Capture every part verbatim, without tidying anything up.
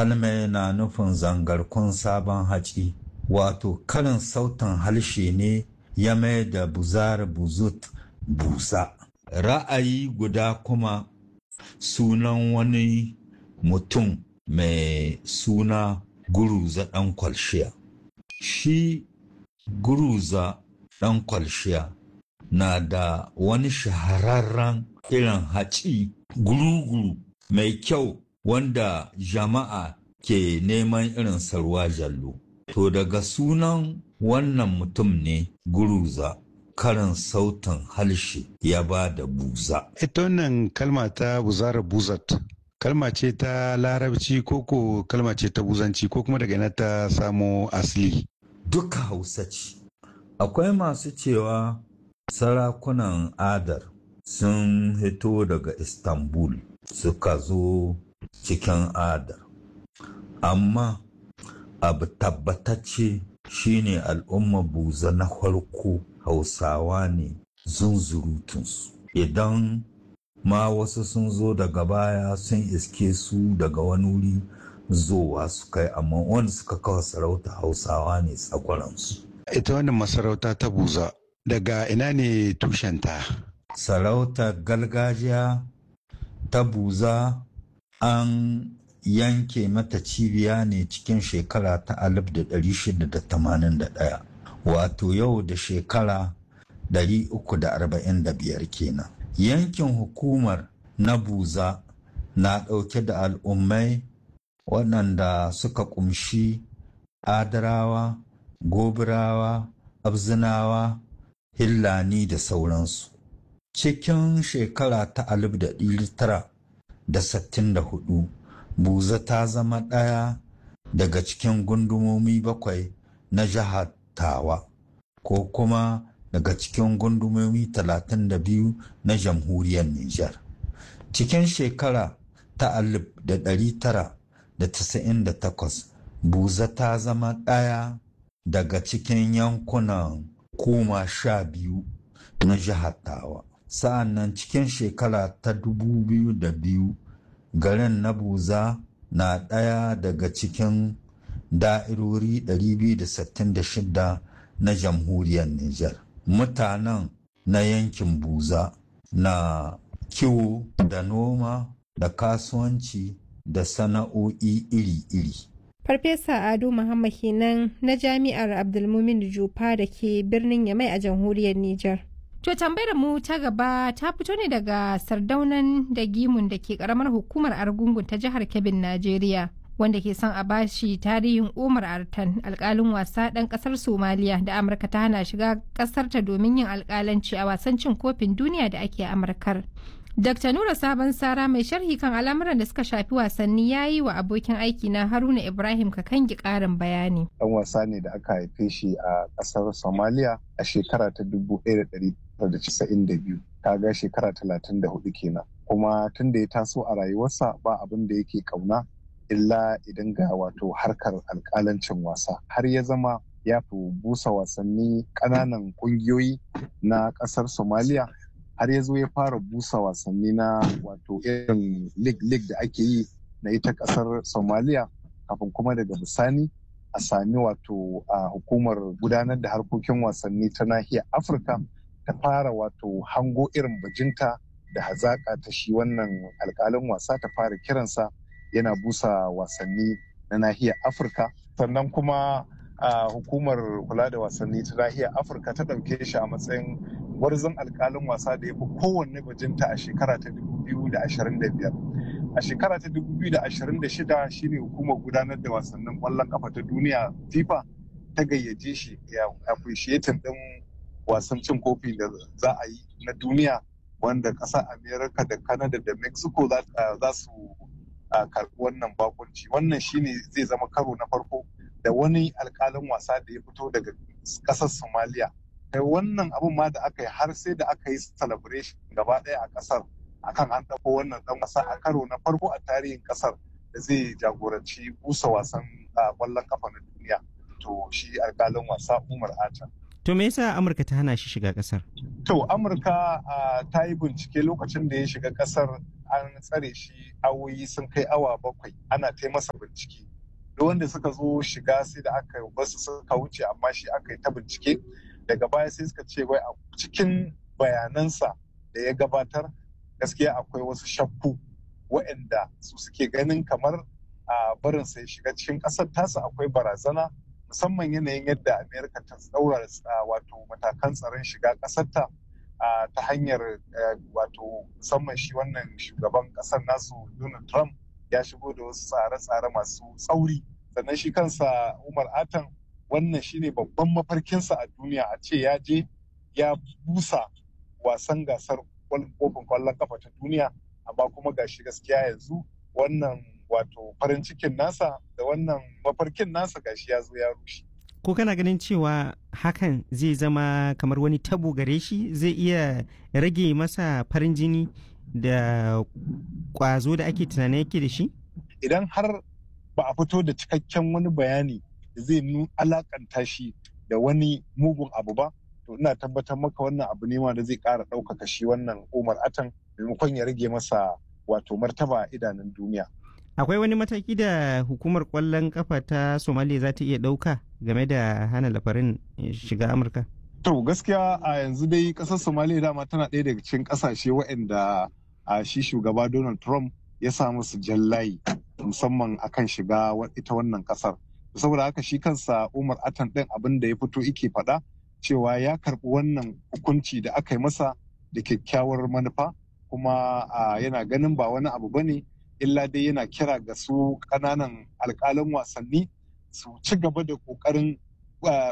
Kalmai na nufin zangarkun sabon haci, wato karin sautin harshe ne ya mai da buzar buzut buza. Ra'ayi guda kuma sunan wani mutum mai suna Guruza ɗan Kwalshiya. Shi Guruza ɗan Kwalshiya na da wani shahararren irin haci guruguru mai kyau wanda jama'a ke neman irin ruwa jallo. To daga sunan wannan mutum ne Guruza karin sautin harshe ya ba da buza. Ita wannan kalma ta buzara buzat kalma ce ta larabci ko ko kalma ce ta buzanci ko kuma daga ina ta samo asali. Duka Hausa ce. Akwai masu cewa sarakunan Adar sun hito daga Istanbul suka zo cikin Adar. Amma abu tabbatacce shine al'umma buza na farko Hausawa ne zunzurutunsu. Idan ma wasu sun zo daga baya sun iske su daga wani wuri zowa su kai amma wanda suka kawo sarauta Hausawa ne tsakwaransu. Ita wannan masarauta ta buza daga ina ne tushenta? Sarautar gargajiya ta buza an yanke mata cibiya ne cikin shekara ta alif da ɗari shida da tamanin da ɗaya wato yau da shekara ɗari uku da arba'in da biyar kenan. Yankin hukumar na buza na ɗauke da al'ummai waɗanda suka ƙumshi Adarawa, Gobirawa, Abzinawa, Hillani da sauransu. Cikin shekara ta alif da ɗari tara da sittin da hudu, Buza ta zama ɗaya daga cikin gundumomi bakwai na jihar Tawa, ko kuma daga cikin gundumomi talatin da biyu na jamhuriyar Nijar. Cikin shekara ta alif da ɗari tara da tasa'in da takwas, Buza ta zama ɗaya daga cikin yankunan koma sha biyu na jihar Tawa. Sa'an nan cikin shekara ta dubu biyu da biyu, garin na Buza na ɗaya daga cikin da'irori ɗari biyu da sittin da shida na jamhuriyar Nijar. Mutanen na yankin Buza na kiwo da noma da kasuwanci da sana'o'i iri-iri. Farfesa Ado Muhammad kenan na Jami'ar Abdulmumin Jupa da ke birnin Yamai a jamhuriyar Nijar. To tambayar mu ta gaba ta fito ne daga sardaunan da gimun da ke karamar hukumar Argungun ta jihar Kebbin, Najeriya. Wanda ke son a bashi tarihin Umar Artan, alkalin wasa ɗan ƙasar Somaliya da Amurka ta hana shiga ƙasarta domin yin alkalanci a wasan cin kofin duniya da ake Amurkar. Dr. Nura Sabon Sara mai sharhi kan al'amuran da suka shafi wasanni ya yi wa abokin aiki na Haruna Ibrahim Kakangi ƙarin bayani. Ɗan wasa ne da aka haife shi a ƙasar Somalia a shekara ta dubu ɗaya da ɗari tara da casa'in da biyu, kaga shekara talatin da hudu kenan. Kuma tun da ya taso a rayuwarsa ba abin da yake ƙauna illa idan ga wato harkar alƙalancin wasa har ya zama ya fi busa wasanni ƙananan ƙungiyoyi na ƙasar Somalia har ya zo ya fara busa wasanni na wato irin league-league da ake yi na ita kasar Somalia kafin kuma daga bisani a sami wato a hukumar gudanar da harkokin wasanni ta nahiyar Afirka ta fara wato hango irin bajinta da hazaƙa ta shi wannan alƙalin wasa ta fara kiransa yana busa wasanni na nahiyar Afirka sannan kuma a hukumar kula da wasanni ta nahiyar Afirka ta ɗauke shi a matsayin gwarzon alkalin wasa da ya fi kowanne bajinta a shekara ta dubu biyu da ashirin da biyar. A shekara ta dubu biyu da ashirin da shida shine hukumar gudanar da wasannin ƙwallon ƙafa ta duniya FIFA ta gayyace shi ya appreciating ɗin wasan cin kofi da za a yi na duniya wanda ƙasar America da Canada da Mexico za su karɓi wannan bakunci. Wannan shine zai zama karo na farko da wani alkalin wasa da ya fito daga ƙasar Somalia. Kai wannan abun ma da aka yi har sai da aka yi celebration gaba ɗaya a ƙasar akan an ɗauko wannan ɗan wasa a karo na farko a tarihin ƙasar da zai jagoranci busa wasan ƙwallon ƙafa na duniya to shi alƙalin wasa Umar Ata. To me yasa Amurka ta hana shi shiga kasar? To Amurka ta yi bincike lokacin da ya shiga kasar, an tsare shi awoyi sun kai awa bakwai ana ta masa bincike. Duk wanda suka zo shiga sai da aka basu suka wuce, amma shi aka yi ta bincike. Daga baya sai suka ce wai a cikin bayanansa da ya gabatar gaskiya akwai wasu shakku waɗanda su suke ganin kamar a barin sai shiga cikin ƙasar tasa akwai barazana, musamman yanayin yadda Amerika ta tsaura wato matakan tsaron shiga ƙasarta ta hanyar wato musamman shi wannan shugaban ƙasar nasu Donald Trump ya shigo da wasu tsare-tsare masu tsauri. Sannan shi kansa Umar Atan, wannan shine babban mafarkinsa a duniya, a ce ya je ya busa wasan gasar kofin kwallon kafa ta duniya, amma kuma gashi gaskiya yanzu wannan wato farin cikin nasa da wannan mafarkin nasa gashi ya zo ya rushe. Ko kana ganin cewa hakan zai zama kamar wani tabo gare shi, zai iya rage masa farin jini da kwazo da ake tunanin yake da shi? Idan har ba a fito da cikakken wani bayani da zai alakanta shi da wani mugun abu ba, to ina tabbatar maka wannan abu ne ma da zai ƙara ɗaukaka shi wannan Umar Atan maimakon ya rage masa wato martaba a idanun duniya. Akwai wani mataki da hukumar kwallon kafa ta Somalia za ta iya ɗauka game da hana lafarin shiga Amurka? To gaskiya a yanzu dai ƙasar Somalia dama tana ɗaya daga cikin ƙasashe waɗanda a shi shugaba Donald Trump ya sa musu jallayi musamman akan shiga ita wannan ƙasar. Saboda haka shi kansa Umar Atan ɗin abin da ya fito ike faɗa cewa ya karɓi wannan hukunci da aka yi masa da kyakkyawar manufa, kuma yana ganin ba wani abu bane illa dai yana kira ga su ƙananan alƙalan wasanni su ci gaba da ƙoƙarin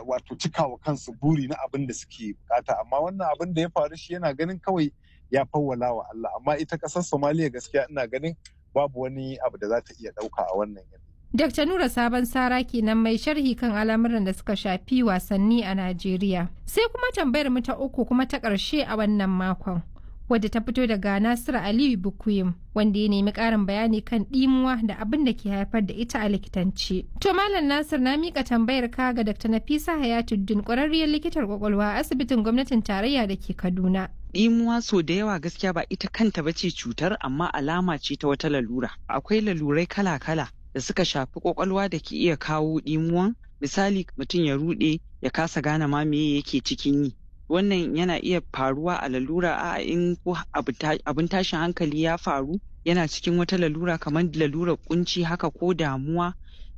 wato cikawa kansu buri na abin da suke bukata. Amma wannan abin da ya faru shi yana ganin kawai ya fawwala wa Allah, amma ita ƙasar Somaliya gaskiya ina ganin babu wani abu da za ta iya ɗauka a wannan yanayi. Dakta Nura Sabon Sara kenan mai sharhi kan al'amuran da suka shafi wasanni a Najeriya. Sai kuma tambayar mu ta uku kuma ta ƙarshe a wannan makon, wadda ta fito daga Nasiru Aliyu Bukuyim, wanda ya nemi ƙarin bayani kan ɗimuwa da abin da ke haifar da ita a likitance. To Malam Nasir, na mika tambayar ka ga Dakta Nafisa Hayatuddin, ƙwararriyar likitar kwakwalwa a asibitin gwamnatin tarayya da ke Kaduna. Ɗimuwa so da yawa gaskiya ba ita kanta ba ce cutar, amma alama ce ta wata lalura. Akwai lalurai kala-kala da suka shafi kwakwalwa da ke iya kawo ɗimuwan. Misali, mutum ya ruɗe ya kasa gane ma me yake cikin yi. Wannan yana iya faruwa a lalura a in ko abin tashin hankali ya faru, yana cikin wata lalura kamar lalurar kunci haka ko damuwa,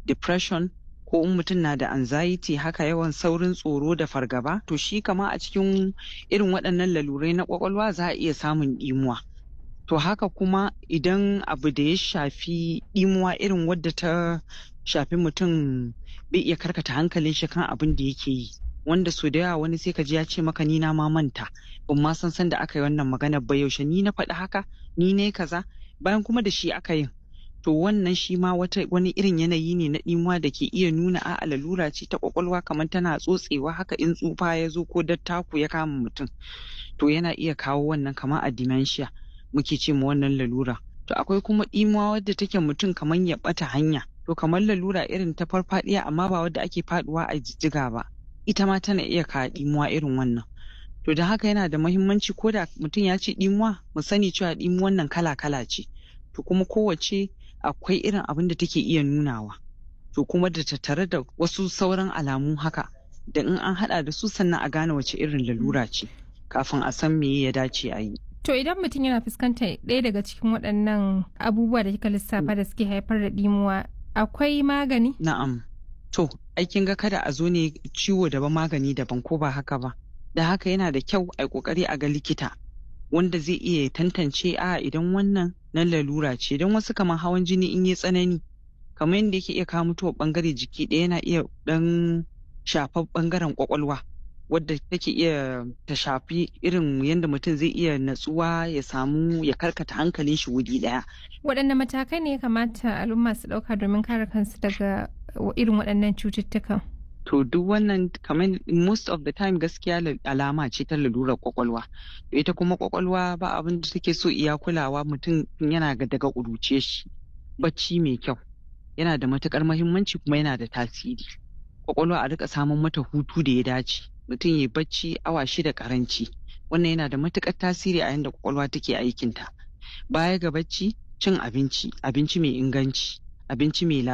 depression, ko in mutum na da anxiety haka, yawan saurin tsoro da fargaba. To shi kama a cikin irin waɗannan lalurai na kwakwalwa za a iya samun ɗimuwa. To haka kuma idan abu da ya shafi ɗimuwa irin wadda ta shafi mutum bai iya karkata hankalin shi kan abin da yake yi, wanda so da yawa wani sai ka ji ya ce maka, "Ni na ma manta, ban ma san san da aka yi wannan magana ba, yaushe ni na faɗi haka, ni ne kaza," bayan kuma da shi aka yin. To wannan shi ma wata wani irin yanayi ne na ɗimuwa da ke iya nuna a'a, lalura ce ta kwakwalwa kamar tana tsotsewa haka in tsufa ya zo ko dattaku ya kama mutum. To yana iya kawo wannan, kamar a dementia muke ce ma wannan lalura. To akwai kuma ɗimuwa wadda take mutum kamar ya ɓata hanya, to kamar lalura irin ta farfaɗiya, amma ba wadda ake faɗuwa a jijjiga ba, ita ma tana iya kawo ɗimuwa irin wannan. To da haka yana da muhimmanci ko da mutum ya ce ɗimuwa, mu sani cewa ɗimuwan nan kala-kala ce. To kuma kowace akwai irin abin da take iya nunawa. To kuma da tattare da wasu sauran alamu haka da in an haɗa da su sannan a gane wace irin lalura ce kafin a san me ya dace a yi. To idan mutum yana fuskantar ɗaya daga cikin waɗannan abubuwa da kika lissafa da suke haifar da ɗimuwa, akwai magani? Na'am. To, ai kin ga kada a zo ne ciwo daban magani daban, ko ba haka ba? Da haka yana da kyau a kokari a ga likita wanda zai iya tantance a idan wannan na lalura ce, don wasu kamar hawan jini in yi tsanani kamar yadda yake iya kawo mutuwar bangare jiki ɗaya, yana iya dan shafar bangaren kwakwalwa wadda take iya ta shafi irin yadda mutum zai iya natsuwa, ya samu ya karkata hankalin shi wuri ɗaya. Waɗanne matakai ne ya kamata al'umma su ɗauka domin kare kansu daga irin waɗannan cututtukan? To duk wannan kamar most of the time gaskiya alama ce ta lalurar kwakwalwa. Ita kuma kwakwalwa ba abin da take so iya kulawa mutum yana daga ƙuruce shi. Bacci mai kyau yana da matukar mahimmanci kuma yana da tasiri. Kwakwalwa a rika samun mata hutu da ya dace. Mutum ya bacci awa shida karanci. Wannan yana da matuƙar tasiri a yanda kwakwalwa take aikinta. Baya ga bacci, cin abinci, abinci mai inganci, abinci mai lafiya.